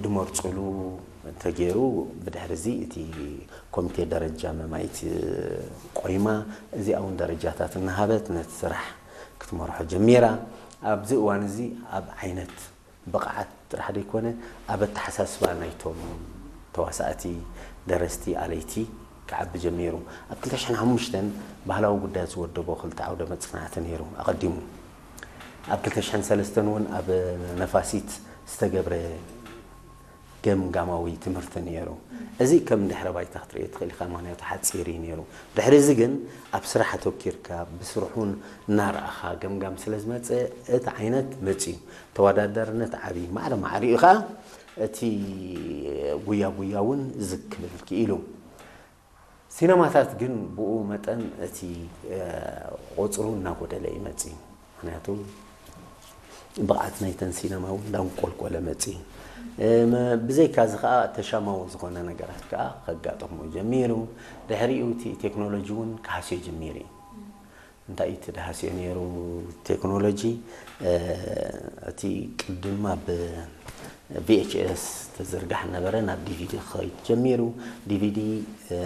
ድመርፅሉ ተገይሩ። ብድሕሪ እዚ እቲ ኮሚቴ ደረጃ መማይት ቆይማ፣ እዚኣ እውን ደረጃታት እናሃበት ነቲ ስራሕ ክትመርሖ ጀሚራ። ኣብዚ እዋን እዚ ኣብ ዓይነት ብቕዓት ጥራሕ ዘይኮነ፣ ኣብ ኣተሓሳስባ ናይቶም ተዋሳእቲ፣ ደረስቲ፣ ኣለይቲ ክዓቢ ጀሚሩ። ኣብ ክልተ ሽሕን ሓሙሽተን ባህላዊ ጉዳያት ዝወደቦ ክልተ ዓውደ መጽናዕቲ ነይሩ ኣቐዲሙ። ኣብ ክልተ ሽሕን ሰለስተን እውን ኣብ ነፋሲት ዝተገብረ ገምጋማዊ ትምህርቲ ነይሩ። እዚ ከም ድሕረ ባይታ ክትርእዮ ትኽእል ኢኻ፣ ምኽንያቱ ሓጺር እዩ ነይሩ። ድሕሪ እዚ ግን ኣብ ስራሕ ኣተኪርካ፣ ብስርሑን እናረኣኻ ገምጋም ስለ ዝመጸ፣ እቲ ዓይነት መጺኡ። ተወዳዳርነት ዓብዪ ማዕረ ማዕሪኡ ኸኣ እቲ ጉያ ጉያ እውን ዝግ ክብል ክኢሉ። ሲነማታት ግን ብኡ መጠን እቲ፣ እ፣ ቁጽሩ እናጎደለ እዩ መጺኡ። ምኽንያቱ ብቕዓት ናይተን ሲነማ እውን እንዳንቆልቆለ መጺኡ። እ፣ መ-፣ ብዘይካ እዚ ኸኣ ተሻማዊ ዝኾነ ነገራት ከኣ ከጋጥሞ ጀሚሩ። ድሕሪኡ እቲ ቴክኖሎጂ እውን ክሃስዮ ጀሚሩ እዩ። እንታይ እዩ እቲ ድሃስዮ ነይሩ? ቴክኖሎጂ፣ እ፣ እቲ ቅድም ኣብ ቪ ኤች ኤስ ተዝርጋሕ ነበረ፣ ናብ ዲ ቪ ዲ ክኸይድ ጀሚሩ። ዲ ቪ ዲ፣ እ፣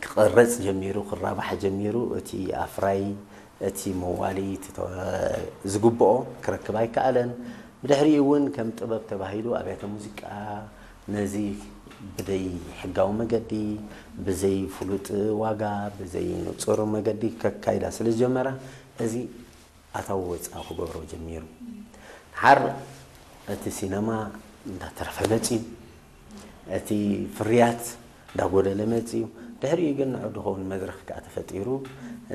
ክቐረጽ ጀሚሩ፣ ክራባሕ ጀሚሩ። እቲ ኣፍራይ፣ እቲ መዋሊ፣ እቲ ተወ-፣ ዝግብኦ ክረክብ ኣይከኣለን። ብድሕሪኡ እውን ከም ጥበብ ተባሂሉ ኣብያተ ሙዚቃ ነዚ ብደይ ሕጋዊ መገዲ፣ ብዘይ ፍሉጥ ዋጋ፣ ብዘይ ንጹር መገዲ ከካይዳ ስለ ዝጀመራ፣ እዚ ኣታዊ ወጻኢ ክገብሮ ጀሚሩ። ድሓር እቲ ሲነማ እንዳተረፈ መጺኡ፣ እቲ ፍርያት እንዳጎደለ መጺኡ። ድሕሪኡ ግን ንዑ ድኸውን መድረኽ ከኣ ተፈጢሩ።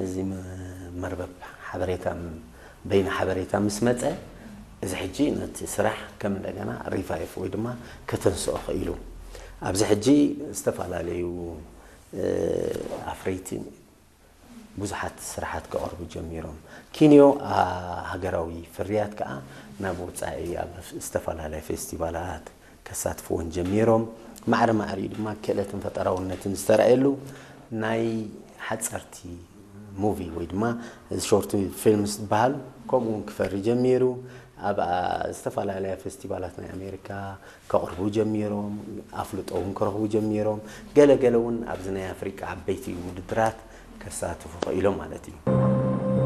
እዚ መ-፣ መርበብ ሓበሬታ ም-፣ በይነ ሓበሬታ ምስ መጸ፣ እዚ ሕጂ ነቲ ስራሕ ከም እንደገና ሪቫይቭ ወይ ድማ ከተንስኦ ክኢሉ። ኣብዚ ሕጂ ዝተፈላለዩ፣ እ፣ ኣፍረይቲ ብዙሓት ስራሓት ከቕርቡ ጀሚሮም። ኪንዮ፣ ኣ፣ ሃገራዊ ፍርያት ከኣ ናብ ወጻኢ ኣብ ዝተፈላለያ ፌስቲቫላት ከሳትፍዎን ጀሚሮም። ማዕረ ማዕሪኡ ድማ ክእለትን ፈጠራውነትን ዝተራእየሉ ናይ ሓጸርቲ ሙቪ ወይ ድማ ሾርት ፊልምስ ዝበሃል ከምኡ እውን ክፈሪ ጀሚሩ። ኣብ፣ ኣ፣ ዝተፈላለያ ፌስቲቫላት ናይ ኣሜሪካ ከቕርቡ ጀሚሮም፣ ኣፍልጦ እውን ክረኽቡ ጀሚሮም። ገለ ገለ እውን ኣብዚ ናይ ኣፍሪቃ ዓበይቲ ውድድራት ከሳትፉ ክኢሎም ማለት እዩ።